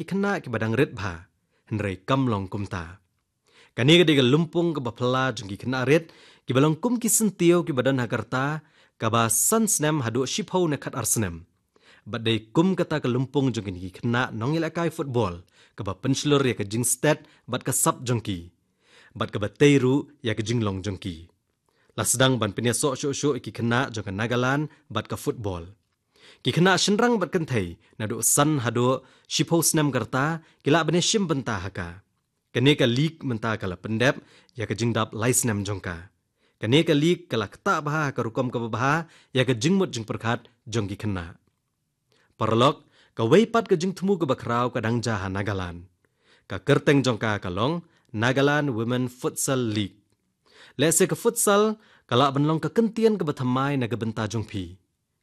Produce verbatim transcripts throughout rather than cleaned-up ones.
ki khynnah kiba dang rit bha, hynrei kam long kumta. Kane ka dei ka lympung kaba phylla jong ki khynnah rit, kiba long kum ki syntiew kiba don ha ka rta, kaba san snem haduh shiphew ne khatar snem. Bad dei kum kata ka lympung jong kine ki khynnah nongïalehkai football, kaba pynshlur ïa ka jingstet bad ka sap jong ki, bad kaba tei ruh ïa ka jinglong jong ki. La sdang ban pynïasoh shuh shuh ïa ki khynnah jong ka Nagaland bad ka football. Ki khynnah shynrang bad kynthei naduh san haduh shiphew snem ka rta ki lah ban ïashim bynta ha ka. Kane ka league mynta ka la pyndep ïa ka jingdap lai snem jong ka. Kane ka league ka la ktah bha ha ka rukom kaba bha ïa ka jingmut jingpyrkhat jong ki khynnah. Paralok, kawei pat ka jingthmu kaba khraw ka dang jia ha Nagaland. Ka kyrteng jong ka ka long Nagaland Women Futsal League. Lehse ka futsal ka lah ban long ka kyntien kaba thymmai na ka bynta jong phi.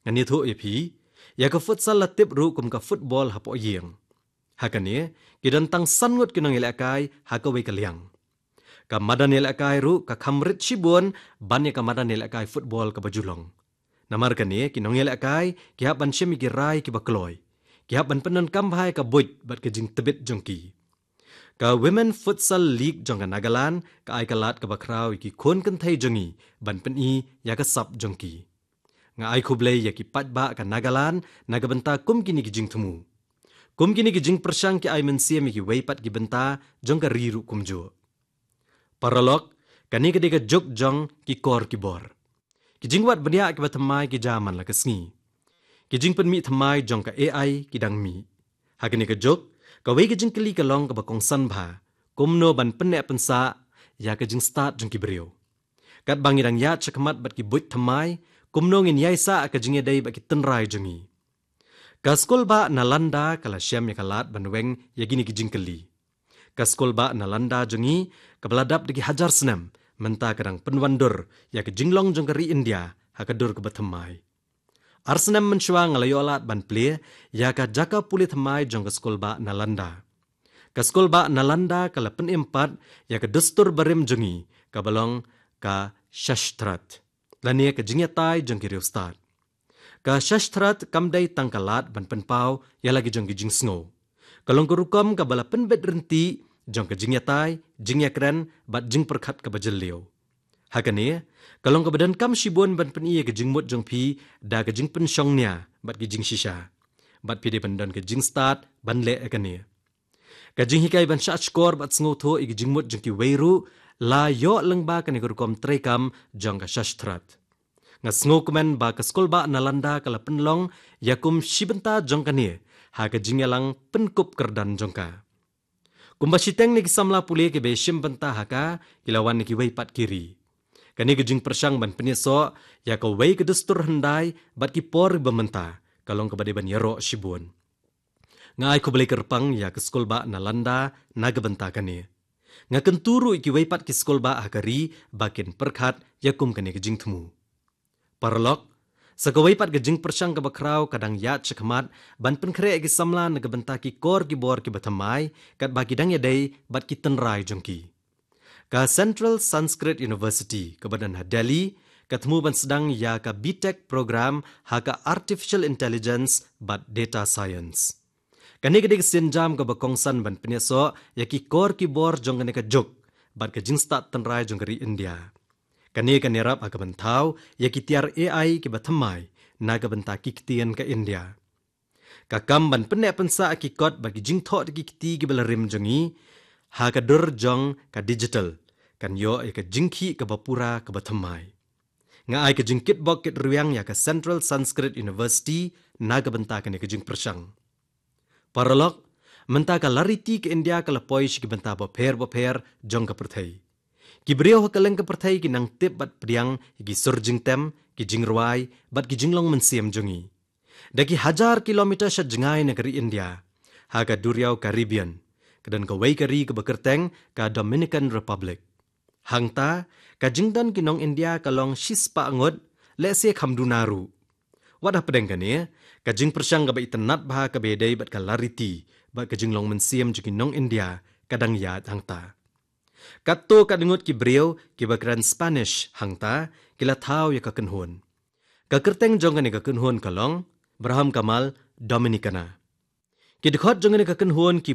Ngan ïathuh ïa phi, ïa ka futsal la tip ruh kum ka football hapoh ïing. Ha kane, ki don tang san ngut ki nongïalehkai ha kawei ka liang. Ka madan ïalehkai ruh ka kham rit shibun ban ïa ka madan ïalehkai football kaba ju long. Namar kane, ki nongïalehkai ki hap ban shim ïa ki rai kiba kloi. Ki hap ban pyndonkam bha ïa ka buit bad ka jingtbit jong ki. Ka Women Futsal League jong ka Nagaland ka ai ka lad kaba khraw ïa ki khun kynthei jong ngi ban pyni ïa ka sap jong ki. Nga ai khublei ïa ki paidbah ka Nagaland na ka bynta kum kine ki jingthmu. Kum kine ki jingpyrshang ki ai mynsiem ïa kiwei pat ki bynta jong ka ri ruh kumjuh. Paralok, kane ka dei ka juk jong ki kor ki bor. Ki jingwad bniah kiba thymmai ki jia man la ka sngi. Ki jingpynmih thymmai jong ka A I ki dang mih. Ha kane ka juk, kawei ka jingkylli ka long kaba kongsan bha, kumno ban pynneh pynsah ïa ka jingstad jong ki briew. Katba ngi dang ïaid shakhmat bad ki buit thymmai, kumno ngin ïaisah ïa ka jingïadei bad ki tynrai jong ngi. Ka skulbah Nalanda ka la shem ïa ka lad ban weng ïa kine ki jingkylli. Ka skulbah Nalanda jong ngi, kaba la dap da ki hajar snem, mynta ka dang pynwandur ïa ka jinglong jong ka ri India ha ka dur kaba thymmai. Ar snem mynshuwa nga la ïoh lad ban plie ïa ka jaka pule thymmai jong ka skulbah Nalanda. Ka skulbah Nalanda ka la pynim pat ïa ka dustur barim jong ngi, kaba long ka Shastrat, lane ka jingïatai jong ki riewstad. Ka Shastrat kam dei tang ka lad ban pynpaw ïa la ki jong ki jingsngew. Ka long ka rukom kaba la pynbit ryntih jong ka jingïatai, jingïakren bad jingpyrkhat kaba jylliew. Ha kane, ka long kaba donkam shibun ban pyni ïa ka jingmut jong phi da ka jingpynshong nia bad ki jingshisha. Bad phi dei ban don ka jingstad ban leh ïa kane. Ka jinghikai ban shahshkor bad sngewthuh ïa ka jingmut jong kiwei ruh la ïoh lyngba kane ka rukom treikam jong ka Shastrat. Nga sngewkmen ba ka skulbah Nalanda ka la pynlong ïa kum shi bynta jong kane ha ka jingïalang pynkup kyrdan jong ka. Kumba shiteng na ki samla pule kiba ïashim bynta ha ka ki la wan na kiwei pat ki ri. Kane ka jingpyrshang ban pynïasoh ïa kawei ka dustur hyndai bad ki por ba mynta ka long kaba dei ban ïaroh shibun. Nga ai khublei kyrpang ïa ka skulbah Nalanda na ka bynta kane. Nga kyntu ruh ïa kiwei pat ki skulbah ha ka ri ba kin pyrkhat ïa kum kane ka jingthmu. Paralok, sa kawei pat ka jingpyrshang kaba khraw ka dang ïaid shakhmat ban pynkhreh ïa ki samla na ka bynta ki kor ki bor kiba thymmai, katba ki dang ïadei bad ki tynrai jong ki. Ka Central Sanskrit University kaba don ha Delhi ka thmu ban sdang ïa ka B Tech program ha ka Artificial Intelligence bad Data Science. Kane ka dei ka sienjam kaba kongsan ban pynïasoh ïa ki kor ki bor jong kane ka juk bad ka jingstad tynrai jong ka ri India. Kane kan ïarap ha ka ban thaw ïa ki tiar A I kiba thymmai na ka bynta ki ktien ka India. Ka kam ban pynneh pynsah ïa ki kot bad ki jingthoh da ki kti kiba la rim jong ngi ha ka dur jong ka digital kan ïoh ïa ka jingkhih kaba pura kaba thymmai. Nga ai ka jingkitbok kitrwiang ïa ka Central Sanskrit University na ka bynta kane ka jingpyrshang. Paralok, mynta ka lariti ka India ka la poi sha ki bynta bapher bapher jong ka pyrthei. Ki briew ha kylleng ka pyrthei ki nang tip bad pdiang ïa ki sur jingtem, ki jingrwai bad ki jinglong mynsiem jong ngi. Da ki hajar kilometer sha jngai na ka ri India, ha ka duriaw Caribbean, ka don kawei ka ri kaba kyrteng ka Dominican Republic. Hangta, ka jingdon ki nong India ka long shispah ngut, lehse kham duna ruh. Wat hapdeng kane, ka jingpyrshang kaba itynnad bha kaba ïadei bad ka lariti bad ka jinglong mynsiem jong ki nong India ka dang ïaid hangta. Katto katne ngut ki briew kiba kren Spanish hangta ki la thaw ïa ka kynhun. Ka kyrteng jong kane ka kynhun ka long Braham Kamal Dominicana. Ki dkhot jong kane ka kynhun ki